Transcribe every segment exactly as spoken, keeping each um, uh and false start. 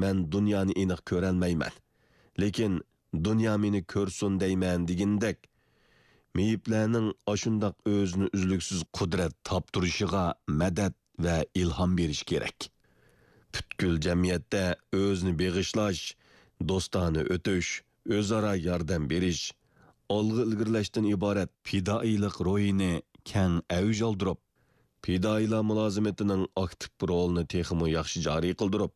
مەن دۇنيانى ئېنىق كۆرەلمەيمەن، لېكىن دۇنيا مېنى كۆرسۇن دەيمەن» دېگىنىدەك، مېيىپلەرنىڭ ئاشۇنداق ئۆزىنى ئۈزلۈكسىز قۇدرەت تاپتۇرۇشىغا مەدەت ۋە ئىلھام بېرىش كېرەك. پۈتكۈل جەمئىيەتتە ئۆزىنى بېغىشلاش، دوستانە ئۆتۈش، ئۆزئارا ياردەم بېرىش، ئالغا ئىلگىرىلەشتىن ئىبارەت پىدائىيلىق روھىنى كەڭ ئەۋج ئالدۇرۇپ، پىدائىيلار مۇلازىمىتىنىڭ ئاكتىپ رولىنى تېخىمۇ ياخشى جارى قىلدۇرۇپ،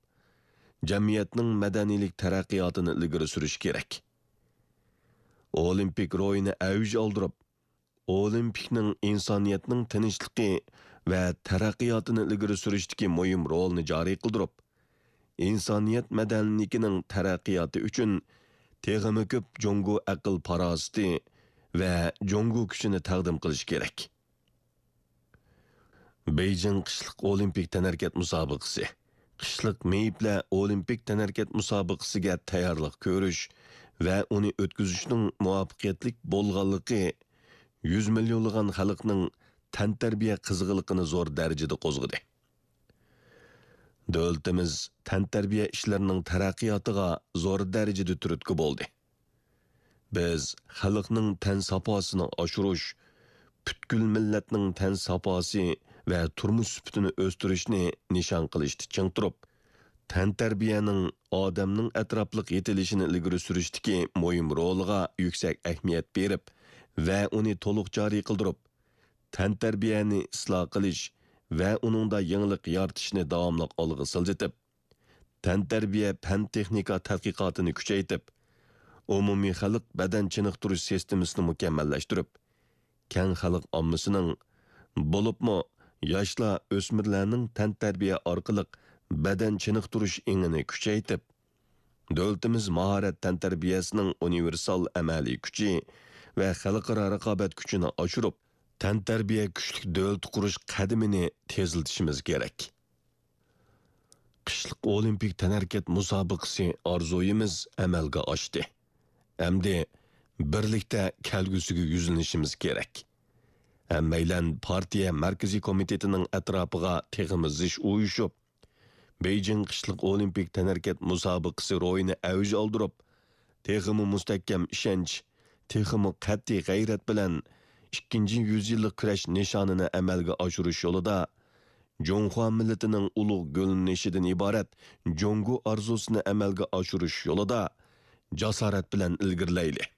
جەمئىيەتنىڭ مەدەنىيلىك تەرەققىياتىنى ئىلگىرى سۈرۈش كېرەك. ئولىمپىك روھىنى ئەۋج ئالدۇرۇپ، ئولىمپىكنىڭ ئىنسانىيەتنىڭ تىنچلىقى ۋە تەرەققىياتىنى ئىلگىرى سۈرۈشتىكى مۇھىم رولىنى جارى قىلدۇرۇپ، ئىنسانىيەت مەدەنىيلىكىنىڭ تەرەققىياتى ئۈچۈن تېخىمۇ كۆپ جۇڭگو ئەقىل-پاراسىتى ۋە جۇڭگو كۈچىنى تەقدىم قىلىش كېرەك. بېيجىڭ قىشلىق ئولىمپىك تەنھەرىكەت مۇسابىقىسى. قىشلىق مېيىپلەر ئولىمپىك تەنھەرىكەت مۇسابىقىسىگە تەييارلىق كۆرۈش ۋە ئۇنى ئۆتكۈزۈشنىڭ مۇۋەپپەقىيەتلىك بولغانلىقى يۈز مىليونلىغان خەلقنىڭ تەنتەربىيە قىزغىنلىقىنى زور دەرىجىدە قوزغىدى. دۆلىتىمىز تەنتەربىيە ئىشلىرىنىڭ تەرەققىياتىغا زور دەرىجىدە تۈرتكە بولدى. بىز خەلقنىڭ تەن ساپاسىنى ئاشۇرۇش، پۈتكۈل مىللەتنىڭ تەن ساپاسى ۋە تۇرمۇش سۈپىتىنى ئۆستۈرۈشنى نىشان قىلىشتا چىڭ تۇرۇپ، تەنتەربىيەنىڭ ئادەمنىڭ ئەتراپلىق يېتىلىشىنى ئىلگىرى سۈرۈشتىكى مۇھىم رولىغا يۈكسەك ئەھمىيەت بېرىپ ۋە ئۇنى تولۇق جارى قىلدۇرۇپ، تەنتەربىيەنى ئىسلاھ قىلىش ۋە ئۇنىڭدا يېڭىلىق يارىتىشنى داۋاملىق ئالغا سىلجىتىپ، تەنتەربىيە پەن-تېخنىكا تەتقىقاتىنى كۈچەيتىپ، ئومۇمىي خەلق بەدەن چېنىقتۇرۇش سىستېمىسىنى مۇكەممەللەشتۈرۈپ، كەڭ خەلق ئاممىسىنىڭ، بولۇپمۇ ياشلار، ئۆسمۈرلەرنىڭ تەنتەربىيە ئارقىلىق بەدەن چېنىقتۇرۇش ئېڭىنى كۈچەيتىپ، دۆلىتىمىز ماھارەت تەنتەربىيەسىنىڭ ئۇنىۋېرسال ئەمەلىي كۈچى ۋە خەلقئارا رىقابەت كۈچىنى ئاشۇرۇپ، تەنتەربىيە كۈچلۈك دۆلىتى قۇرۇش قەدىمىنى تېزلىتىشىمىز كېرەك. قىشلىق ئولىمپىك تەنھەرىكەت مۇسابىقىسى ئارزۇيىمىز ئەمەلگە ئاشتى. ئەمدى بىرلىكتە كەلگۈسىگە يۈزلىنىشىمىز كېرەك. ھەممەيلەن پارتىيە مەركىزىي كومىتېتىنىڭ ئەتراپىغا تېخىمۇ زىچ ئۇيۇشۇپ، بېيجىڭ قىشلىق ئولىمپىك تەنھەرىكەت مۇسابىقىسى روھىنى ئەۋج ئالدۇرۇپ، تېخىمۇ مۇستەھكەم ئىشەنچ، تېخىمۇ قەتئىي غەيرەت بىلەن ئىككىنچى يۈز يىللىق كۈرەش نىشانىنى ئەمەلگە ئاشۇرۇش يولىدا، جۇڭخۇا مىللىتىنىڭ ئۇلۇغ گۈللىنىشىدىن ئىبارەت جۇڭگو ئارزۇسىنى ئەمەلگە ئاشۇرۇش يولىدا جاسارەت بىلەن ئىلگىرىلەيلى.